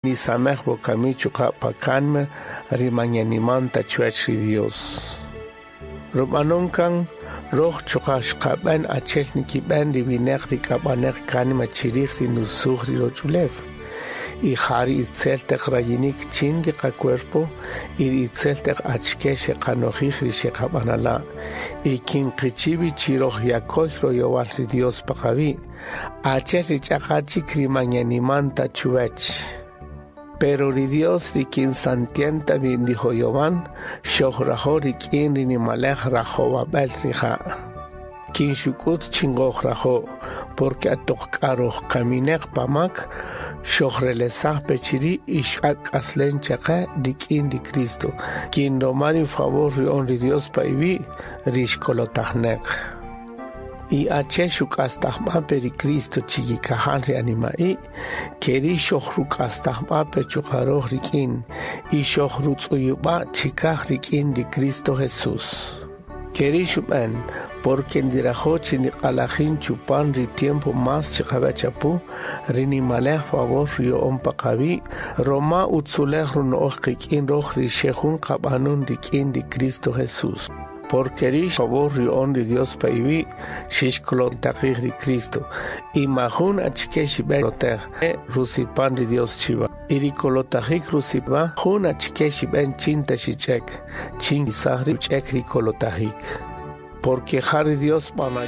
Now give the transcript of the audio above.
Nisamej wokami chuqa' pa kánima ri man yeniman ta chuwech ri Dios. Rub'anon kan roj chuqa' xqab'en achel nikib'en ri wineq ri k'ab'aneq kánima chirij ri nusuj ri roch'ulew. Y ja ri itzel taq rayinik chin ri qacuerpo y ri itzel taq achike xeqanojij ri xeqab'anala'. Y kin qichiwi chi roj yakoy royowal ri Dios pa qawi', achel ri ch'aqa chik ri man yeniman ta chuwech. Pero ri Dios ri kin santienta wi ndijoyowan, xojrajo' rik'in ri nimalej rajowab'el rija'. Kin xuk'ut chi ngojrajo', porque atoq k'a roj kamineq pa mak, xojrelesaj pe chiri' y xak'aslen chaqe rik'in ri Cristo. Kin roma ri favor ruyo'on ri Dios pa iwi', ri xkolotajneq. Y achel xuk'astajb'a pe ri Cristo chikikajal ri anima'i', keri' xojruk'astajb'a pe chuqa' roj rik'in y xojrutz'uyub'a' chikaj rik'in ri Cristo Jesús. Keri' xub'en, porque ndirajo' chi ndiq'alajin chupan ri tiempo más chiqawech apu, ri nimalej favor ruyo'on pa qawi', roma utzulej runo'oj qik'in roj ri xe jun qab'anun rik'in ri Cristo Jesús. Porque ri favor ruyo'on ri Dios pa iwi', xixkolotajij ri Cristo. Y majun achike xib'en lotej rusipan ri Dios chiwa. Y ri kolotajik rusipa jun achike xib'en chin ta xich'ek, chin isaj ri uch'ek ri kolotajik. Porque ja ri Dios b'anay.